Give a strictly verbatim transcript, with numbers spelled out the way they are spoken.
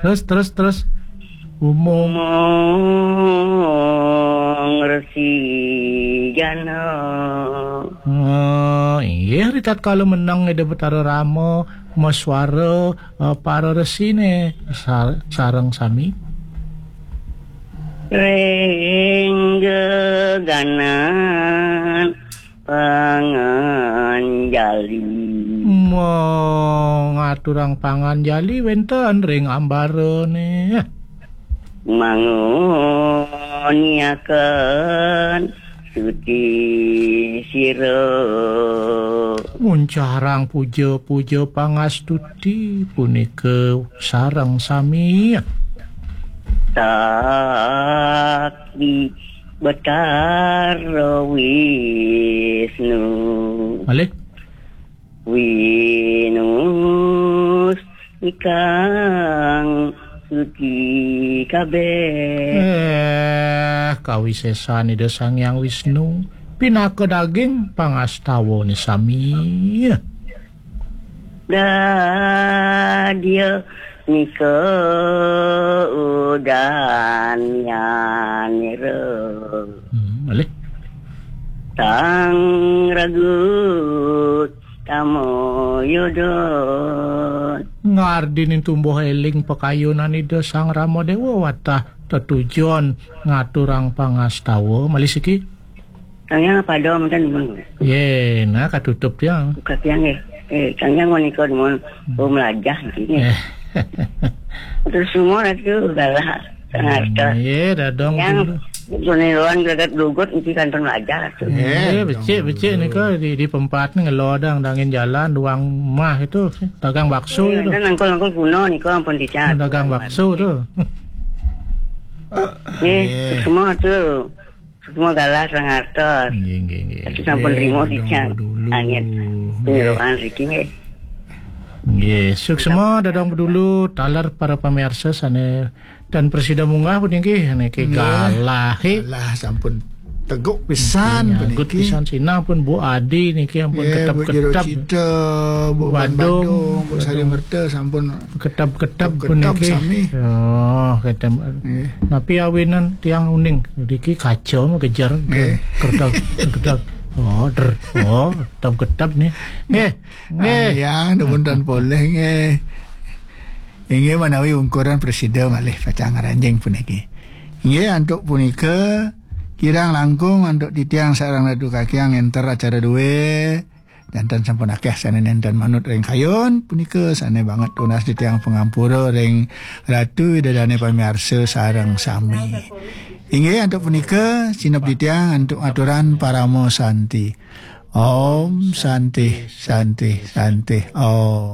Terus, terus, terus. Umong. Umong Resi Gana. Oh, inggih, ritatkala meneng Ida Betara Rama, masuara, eh, para resine, sar-, sareng sami. Ring geganan panganjali. Mo ngaturang panganjali wenten ring ambarane. Manguniaken suti sira. Muncarang puja-puja pangastuti punika sareng sami. Sakti Betara Wisnu. Malih. Winus ikang suci kabeh. Eh, kawisesan Ida Sang Hyang Wisnu pinaka daging pangastawane sami. Dadia nika udanyanira. Hmm, malih. Sang ragut tamoyodon. Ngardinin tumbuh eling pakayunan Ida Sang Rama Dewa watah tetujon ngaturang pangastawa. Malih siki. Kang Yang apa ada mungkin? Ye, nah, katutup tiang. Buka tiang, eh. Eh, Kang Yang menika demun, oh, melajah niki, eh. Terus semua itu galah, sangat. Ye, dadong yang dulu. Puniruan greget lugut niki kantun melajah tuh. Eh, becik, becik nika di, di pempat ni ngelodang dangin jalan, duang mah itu, dagang bakso. Eh, itu. Dan angkul-angkul kuno nika ampun dicak. Dagang bakso tuh. Eh, semua tuh. Semua galah sangartos. Nggih, nggih, nggih. Tapi sampun. Nggih, trimo dicak. Dulu. Angin. Nggih. Puniruan riki nggih. Nggih, suksma dadong dulu taler para pamirsa sane dan presida munggah puniki niki. Nggih. Galah, eh. Galah sampun teguk pisan. Nggih, nyagut puniki. Pisan sinah pun Bu Adi niki ampun. Nggih, ketep-ketep. Bu Jero Cita, Bu Badung, Badung, Bu Sari Merta sampun ketep-ketep puniki. Sami. Oh, ketep. Nggih. Napi awinan tiang uning niki kaca mah kejar. Nggih. Kertak, kertak. Oh, der. Oh, ketep-ketep nih. Nggih. Nggih. Ah, yang demuntan poleh nggih. Inggih manawi ungkuran presida malih pacang ngranjing puniki. Inggih, antuk punika kirang langkung antuk titiang sareng Ratu Kakiang enter acara due. Janten sampun akeh sane nenten manut ring kayun punika sane banget tunas titiang pangampura ring Ratu Ida Dane pamiarsa sareng sami. Inggih antuk punika sineb titiang antuk aturan parama santi. Om Santi, Santi, Santi. Om.